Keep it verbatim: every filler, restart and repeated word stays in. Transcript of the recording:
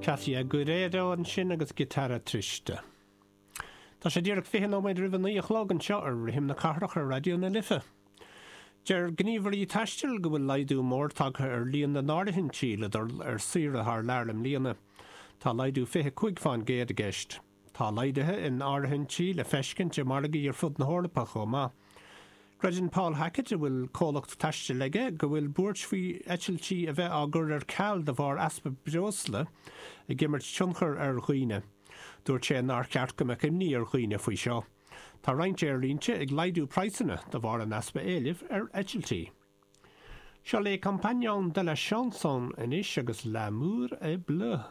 Katia Guerriero ansin agus Guitarra Triste. Tá sé díreach fiche nóiméad roimh a naoi a chlog anseo ar Rithim na Cathrach ar Raidió na Life. Deir gníomhairí taistil go bhfuil laghdú mór tagtha ar líon na n-áirithintí le dul ar saoire thar lear i mbliana. Tá laghdú fiche cúig faoin gcéad i gceist. Tá laghduithe in áirithintí le feiscint i margaí ar fud na hEorpa chomh maith. Creideann Paul Hackett a bhfuil comhlacht taistil aige go bhfuil buairt faoi eitiltí a bheith á gcur ar ceal de bharr easpa breosla ag imirt tionchar ar dhaoine. Dúirt sé nár cheart go mbeadh imní ar dhaoine faoi seo. Tá roinnt aerlínte ag laghdú praghsanna de bharr an easpa éilimh ar eitiltí. Seo Les Compagnons de la Chanson anois agus L'amour est bleu.